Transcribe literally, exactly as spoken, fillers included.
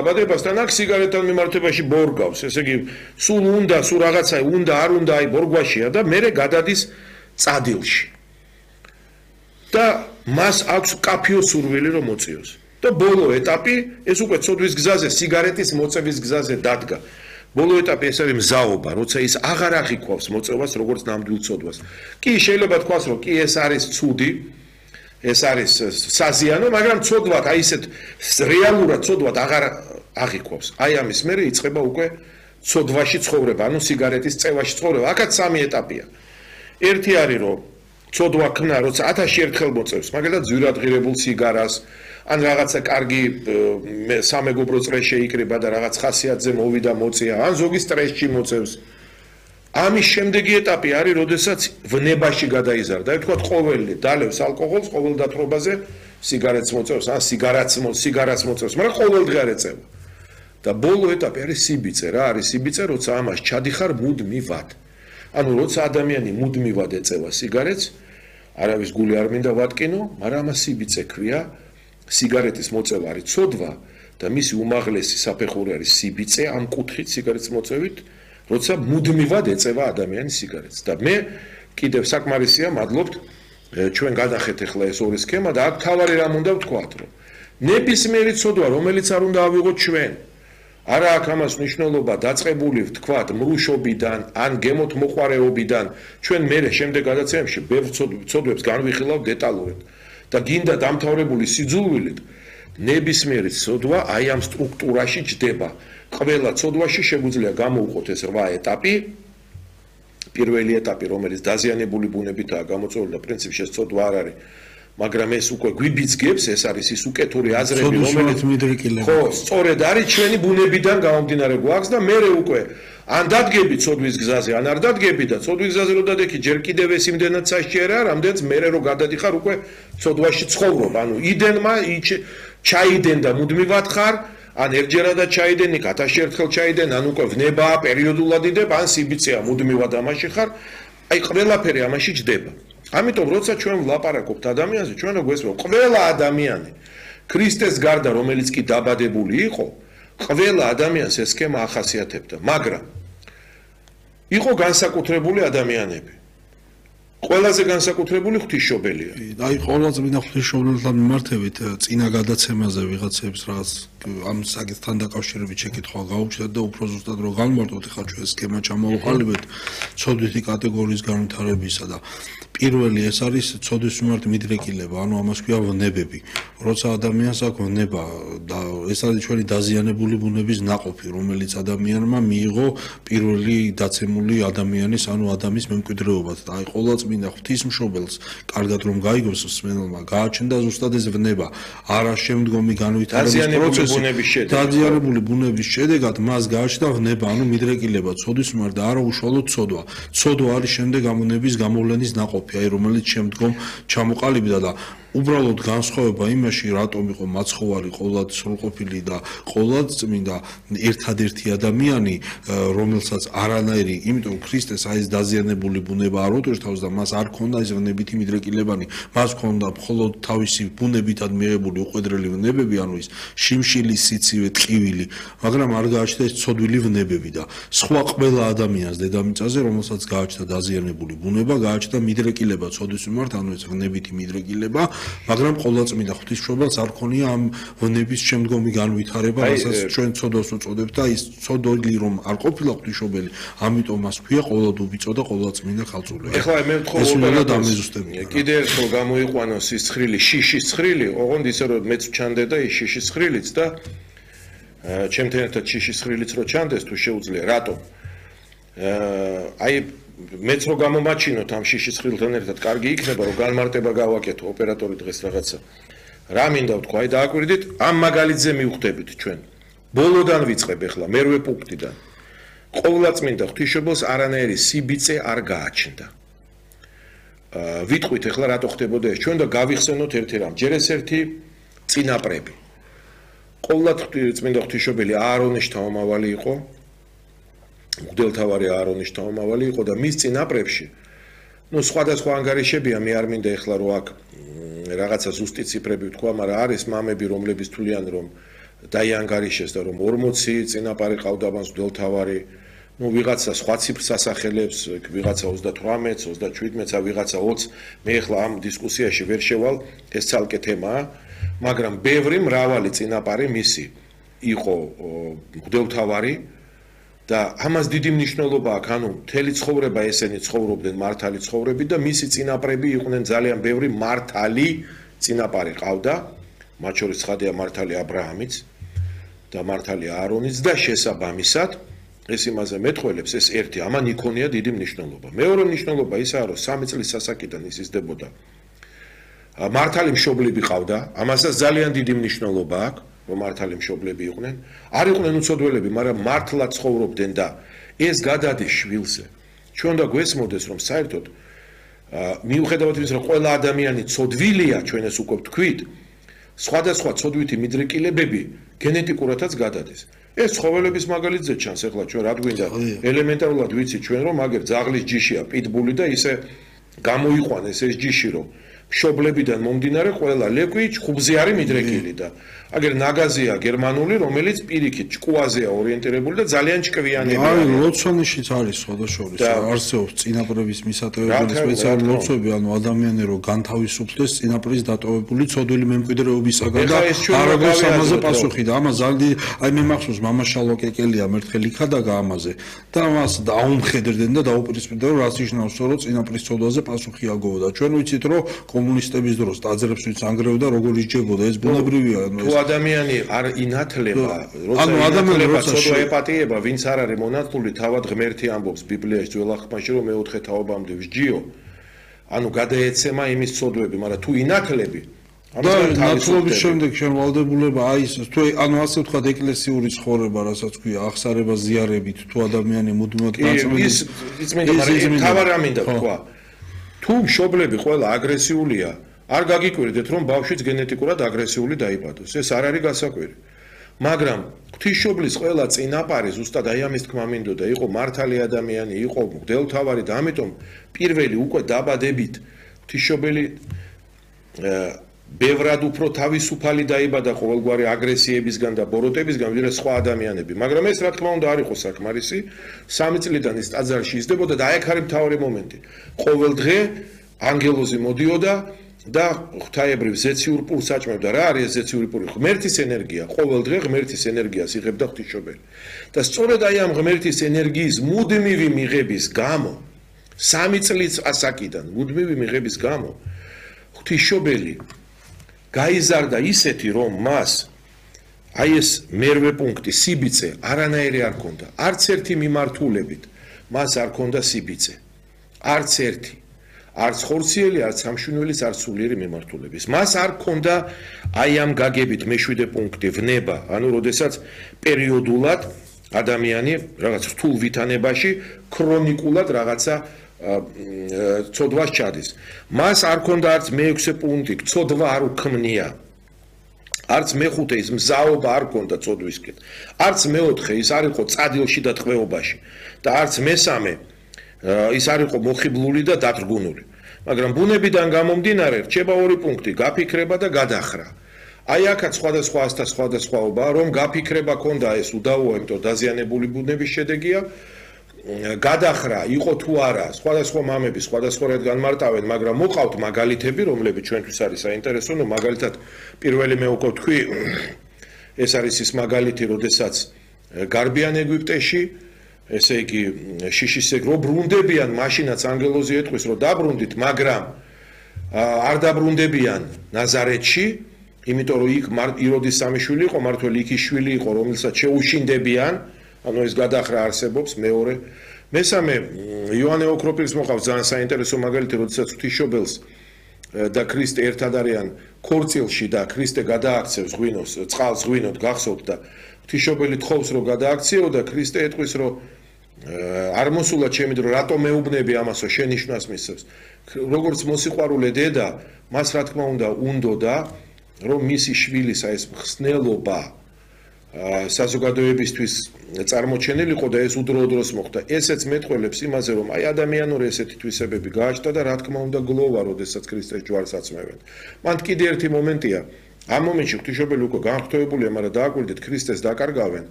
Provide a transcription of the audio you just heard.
დაბადებასთან აქ სიგარეტთან მიმართებაში ბორგავს, ესე იგი, სულ უნდა, სულ რაღაცა უნდა, არ უნდა, აი ბორგვაშია და მერე გადადის წადილში. და მას აქვს კაფიო სურვილი რომ მოწიოს. და ბოლო ეტაპი, ეს უკვე ცოდვის გზაზე, სიგარეტის მოწევის გზაზე დადგა. ბოლო ეტაპი ეს არის მზაობა, როცა ის აღარ აღიქვავს მოწევას როგორც ნამდვილ ცოდვას. კი, შეიძლება თქვას, რომ კი ეს არის ცუდი, ეს არის საზიანო, მაგრამ ცოდვად, აი ესეთ რეალურად ცოდვად აღარ აღიქვავს. აი ამის მერე იწყება უკვე ცოდვაში ცხოვრება, ანუ სიგარეტის წევაში ცხოვრება. აქაც სამი ეტაპია. ერთი არის, რომ ცოდვა ქნა, როცა ათასში ერთხელ მოწევს, მაგალითად ძვირადღირებულ სიგარას, ან რაღაცა კარგი სამეგობრო წრე შეიკრიბა და რაღაც ხასიათზე მოვიდა მოწია, ან ზოგი სტრესში მოწევს. ამის შემდეგი ეტაპი არის, როდესაც ვნებაში გადაიზარდა. ვთქვათ, ყოველი დალევს ალკოჰოლს, ყოველ დათრობაზე სიგარეტს მოწევს, ან სიგარაც სიგარას მოწევს, მაგრამ ყოველდღე არ ეწევა. და ბოლო ეტაპი არის სიბიწე, რა არის სიბიწე, როცა ამას ჩადიხარ მუდმივად. ანუ როცა ადამიანი მუდმივად ეწევა სიგარეტს, არავის გული არ მინდა ვატკინო, მაგრამ ამას სიბიწე ქვია. სიგარეტის მოწევა არის ცოდვა და მისი უმაღლესი საფეხური არის სიბიწე ამ კუთხით სიგარეტის მოწევით, როცა მუდმივად ეწევა ადამიანი სიგარეტს. და მე კიდევ საკმარისია, მადლობთ, ჩვენ გადახეთ ახლა ეს ორი სქემა და აქ თავარი რამ უნდა ვთქვათ, რომ ნებისმიერი ცოდვა, რომელიც არ უნდა ავიღოთ ჩვენ, არა აქვს ამას მნიშვნელობა დაწყებული ვთქვათ მრუშობიდან ან გემოთ მოყარეობიდან, ჩვენ მერე შემდეგ გადაცემებში ბევრ ცოდვებს განვიხილავთ დეტალურად. და გინდა დამთავრებული სიძულვილით ნებისმიერი ცოდვა აი ამ სტრუქტურაში ჯდება. ყველა ცოდვაში შეგვიძლია გამოვყოთ ეს რვა ეტაპი. პირველი ეტაპი, რომელიც დაზიანებული ბუნებითაა გამოწვეული და პრინციპში ეს ცოდვა არ არის, მაგრამ ეს უკვე გვიბიძგებს, ეს არის ის უკეთური აზრები, რომელიც ხო, სწორედ არის ჩვენი ბუნებიდან გამომდინარე გვაქვს და მე უკვე ან დადგები ცოდვის გზაზე, ან არ დადგები და ცოდვის გზაზე რო დადექი, ჯერ კიდევ ეს იმდენად სასჯერაა, რამდენიც მერე რო გადადიხარ უკვე ცოდვაში ცხოვრობ. ანუ იდენმა ჩაიდენ და მუდმივად ხარ, ან ერთჯერადად ჩაიდენ, იქ ათასში ერთხელ ჩაიდენ, ან უკვე ვნებაა, პერიოდულად იდებ, ან სიბიწეა, მუდმივად ამაში ხარ. აი ყველაფერი ამაში ჯდება. ამიტომ როცა ჩვენ ვლაპარაკობთ ადამიანზე, ჩვენ რო გვესმევ, ყველა ადამიანი ქრისტეს გარდა, რომელიც კი დაბადებული იყო, ყველა ადამიანს ეს სქემა ახასიათებდა, მაგრამ იყო განსაკუთრებული ადამიანები. ყველაზე განსაკუთრებული ღვთისმშობელია. აი ყველაზე მინდა ღვთისმშობელთან მიმართებით წინა გადაცემაზე ვიღაცებს რაღაც ამ საკითხთან დაკავშირებით შეკითხვა გაუჩნდათ და უფრო ზუსტად რო განმარტოთ, ხა ჩვენ სქემა ჩამოვყალიბეთ ცოდვითი კატეგორიის განვითარებისა და პირველი ეს არის ცოდვის მიმართ მიდრეკილება, ანუ ამას ქვია ვნებები. როცა ადამიანს აქვს ვნება და ეს არის ჩვენი დაზიანებული ბუნების ნაყოფი, რომელიც ადამიანმა მიიღო პირველი დაცემული ადამიანის, ანუ ადამიანის მემკვიდრეობად. და აი ყოვლადწმინდა ღვთისმშობელს, კარგად რომ გაიგოს მსმენელმა, გააჩნდა ზუსტად ეს ვნება, არა შემდგომი განვითარების პროცესი, დაზიანებული ბუნების შედეგად მას გააჩნდა ვნება, ანუ მიდრეკილება ცოდვის მიმართ და არა უშუალოდ ცოდვა. ცოდვა არის შემდეგ ამ ვნების გამოვლენის ნაყოფი. აი რომელიც შემდგომ ჩამოყალიბდა და უბრალოდ განსხვავება იმაში, რატომ იყო მაცხოვარი ყოვლად სრულყოფილი და ყოვლად წმინდა ერთადერთი ადამიანი, რომელსაც არანაირი, იმიტომ ქრისტეს აი ეს დაზიანებული ბუნება არ უტვირთავს და მას არ ქონდა ეს ვნებითი მიდრეკილებანი, მას ქონდა მხოლოდ თავისი ბუნებითად მიღებული უყვედრელი ვნებები, ანუ ის შიმშილი, სიცივე, ტყივილი, მაგრამ არ გააჩნდა ეს ცოდვილი ვნებები და სხვა ყველა ადამიანს დედამიწაზე, რომელსაც გააჩნდა დაზიანებული ბუნება, გააჩნდა მიდრეკილება ცოდვის მიმართ, ანუ ეს ვნებითი მიდრეკილება. მაგრამ ყოვლადწმინდა ღვთისმშობელს არ ქონია ამ ვნების შემდგომი განვითარება, რასაც ჩვენ ცოდვას უწოდებთ და ის ცოდვილი რომ არ ყოფილა ღვთისმშობელი, ამიტომ მას ქვია ყოვლადუბიწო და ყოვლადწმინდა ხალწულე. ეხლა მე ვთხოვ, კიდე ერთხელ გამოიყვანოს ის ცხრილი, შიშის ცხრილი, ოღონდ ისე რომ მეც ვჩანდე და ის შიშის ცხრილიც და ჩემთან ერთად შიშის ცხრილიც რო ჩანდეს თუ შეუძლია, რატომ? აი მეც რო გამომაჩინოთ ამ შიშის ცხრილთან ერთად, კარგი იქნება რომ განმარტება გავაკეთო ოპერატორი დღეს რაღაცა. რა მინდა ვთქვა, აი დააკვირდით, ამ მაგალითზე მივხვდებით ჩვენ. ბოლოდან ვიწყებ ახლა, მერვე პუნქტიდან. ყოვლადწმინდა ღვთისმშობელს არანაირი სიბიწე არ გააჩნდა. აა ვიტყვით ახლა რატო ხდებოდა ეს ჩვენ და გავიხსენოთ ერთი რამ. ჯერ ეს ერთი წინაპრები. ყოვლადწმინდა ღვთისმშობელი აარონის შთამომავალი იყო. მღვდელთავარი აარონის შთამომავალი იყო და მის წინაპრებში ნუ სხვადასხვა ანგარიშებია, მე არ მინდა ეხლა რომ აქ რაღაცა ზუსტი ციფრები ვთქვა, მაგრამ არის მამები, რომლებიც თვლიან, რომ დაიანგარიშეს და რომ ორმოცი წინაპარი ყავდა მას მღვდელმთავარი, ну ვიღაცა სხვა ციფრს ასახელებს, ვიღაცა ოცდათვრამეტს, ოცდაჩვიდმეტს, ვიღაცა ოცს, მე ახლა ამ დისკუსიაში ვერ შევალ, ეს ცალკე თემაა, მაგრამ ბევრი მრავალი წინაპარი მისი იყო მღვდელმთავარი და ამას დიდი მნიშვნელობა აქვს, ანუ მთელი ცხოვრება ესენი ცხოვრობდნენ მართალი ცხოვრებით და მისი წინაპრები იყვნენ ძალიან ბევრი მართალი წინაპარი ყავდა, მათ შორის ცხადია მართალი ა ブラ ამიც და მართალი აარონიც და შესაბამისად ეს იმაზე მეტყველებს ეს ერთი ამან იქონია დიდი მნიშვნელობა. მეორე მნიშვნელობა ისაა, რომ სამი წლის სასაკიდან ის იზრდებოდა. მართალი მშობლები ყავდა, ამასაც ძალიან დიდი მნიშვნელობა აქვს, რომ მართალი მშობლები იყვნენ. არ იყვნენ უცოდველები, მაგრამ მართლა ცხოვრობდნენ და ეს გადადის შვილზე. ჩვენ და გვესმოდეს, რომ საერთოდ მიუხედავად იმისა, რომ ყველა ადამიანი ცოდვილია, ჩვენ ეს უკვე ვთქვით, სხვადასხვა ცოდვითი მიდრეკილებები გენეტიკურადაც გადადის. ეს ცხოველების მაგალითზე ჩანს, ეხლა ჩვენ რა გვინდა ელემენტარულად ვიცით ჩვენ რომ აგერ ძაღლის ჯიშია პიტბული და ისე გამოიყვანეს ეს ჯიში რომ მშობლებიდან მომდინარე ყველა ლეკვი ხუბზე არის მიდრეკილი და აგერ ნაგაზია გერმანული რომელიც პირიქით ჭკუაზეა ორიენტირებული და ძალიან ჭკვიანია. აი ლოცვანიშიც არის სხვადასხვა არსებობს წინაპრების მისატევებელი სპეციალური ლოცვები, ანუ ადამიანი რომ განთავისუფლდეს წინაპრის დატოვებული ცოდვილი მემკვიდრეობისაგან და არ აქვს ამაზე პასუხი და ამას ზალდი აი მე მახსოვს მამაშალო კეკელია მერთხელ იქადაგა ამაზე და მას დაუმხედრდნენ და დაუპირისპირდნენ რომ რაც ნიშნავს რომ წინაპრის ცოდვაზე პასუხი აგოვა და ჩვენ ვიცით რომ კომუნისტების დროს ტაძრებს ვიც ანგრევდა როგორ ისჯებოდა ეს ბუნებრივია თუ ადამიანი არ ინათლება როცა ინათლება ცოდვა ეპატიება ვინც არ არის მონათლული თავად ღმერთი ამბობს ბიბლიაში ძველ აღთქმაში რომ მეოთხე თაობამდე ვსჯიო ანუ გადაეცემა იმის ცოდვები მაგრამ თუ ინათლები და ნათლობის შემდეგ შენ ვალდებულება აი ეს თუ ანუ ასე ვთქვათ ეკლესიური ცხოვრება რასაც ქვია აღსარება ზიარებით თუ ადამიანი მუდმივად გაწმენდის ის მინდა მაგრამ თავარ ამინდა თქვა თუ მშობლები ყველა აგრესიულია არ გაგიკვირდეთ რომ ბავშვიც გენეტიკურად აგრესიული დაიბადოს ეს არ არის გასაკვირი მაგრამ ღვთისმშობლის ყველა წინაპარი ზუსტად აი ამის თქმა მინდოდა იყო მართალი ადამიანი იყო მღვდელმთავარი და ამიტომ პირველი უკვე დაბადებით ღვთისმშობელი ბევრად უფრო თავისუფალი დაიბადა ყოველგვარი აგრესიებისგან და ბოროტებისგან ვიდრე სხვა ადამიანები მაგრამ ეს რა თქმა უნდა არ იყო საკმარისი სამი წლიდან ის ტაძარში იზრდებოდა და აი აქ არის მთავარი მომენტი ყოველ დღე ანგელოზი მოდიოდა და ღვთაებრივ ზეციურ პულს აჭმევდა რა არის ეს ზეციური პული ღმერთის ენერგია ყოველ დღე ღმერთის ენერგიას იღებდა ღვთისმშობელი და სწორედ აი ამ ღმერთის ენერგიის მუდმივი მიღების გამო სამი წლის ასაკიდან მუდმივი მიღების გამო ღვთისმშობელი გაიზარდა ისეთი რომ მას აი ეს მერვე პუნქტი სიბიწე არანაირი არ ქონდა არც ერთი მიმართულებით მას არ ქონდა სიბიწე არც ერთი არც ხორციელი არც სამშვენილის არც სულიერი მიმართულების მას არ ქონდა აი ამ გაგებით მეშვიდე პუნქტი ვნება ანუ როდესაც პერიოდულად ადამიანი რაღაც რთულ ვითანებაში ქრონიკულად რაღაცა ცოდვას ჩადის მას არ ქონდა არც მეექვსე პუნქტი ცოდვა არ უქმნია არც მეხუთე ის მზაობა არ ქონდა ცოდვისკენ არც მეოთხე ის არ იყო წადილში და ტყვეობაში და არც მესამე ის არ იყო მოხიბლული და დათრგუნული მაგრამ ბუნებიდან გამომდინარე რჩება ორი პუნქტი გაფიქრება და გადახრა აი აქაც სხვადასხვა ასთა სხვადასხვაობა რომ გაფიქრება ქონდა ეს უდავოა იმიტომ დაზიანებული ბუნების შედეგია გადახრა იყო თუ არა სხვადასხვა მამები სხვადასხვაურად განმარტავენ მაგრამ მოყავთ მაგალითები რომლებიც ჩვენთვის არის საინტერესო ნუ მაგალითად პირველი მე უკვე თქვი ეს არის ის მაგალითი როდესაც გარბიან ეგვიპტეში ესე იგი შიშისეგ რო ბრუნდებიან მაშინაც ანგელოზი ეტყვის რომ დაბრუნდით მაგრამ არ დაბრუნდებიან ნაზარეთში იმიტომ რომ იქ იროდის სამი შვილი იყო მართალი იქ ის შვილი იყო რომელსაც შეუშინდებიან ანუ ეს გადახრა არსებობს მეორე მესამე იოანე ოქროპირის მოყავს ძალიან საინტერესო მაგალითი როდესაც ღვთისმშობელს და ქრისტე ერთად არიან ქორწილში და ქრისტე გადააქცევს ღვინოს წყალს ღვინოთ გახსოვთ და ღვთისმშობელი თხოვს რომ გადააქციო და ქრისტე ეტყვის რომ არ მოსულა ჩემი დრო რატო მეუბნები ამასო შენიშვნას მისცემს როგორც მოსიყვარულე დედა მას რა თქმა უნდა უნდოდა რომ მისი შვილისა ეს მხსნელობა საზოგადოებისთვის წარმოჩენილიყო და ეს უდროოდროს მოხდა. ესეც მეტყველებს იმაზე, რომ აი ადამიანური ესეთი თვისებები გააჩნდა და რა თქმა უნდა გლოვა, როდესაც ქრისტეს ჯვარს აწმევენ. მან კიდე ერთი მომენტია, ამ მომენტში ღვთისმშობელი უკვე განხტოებულია, მაგრამ დააკვირდით ქრისტეს დაკარგავენ.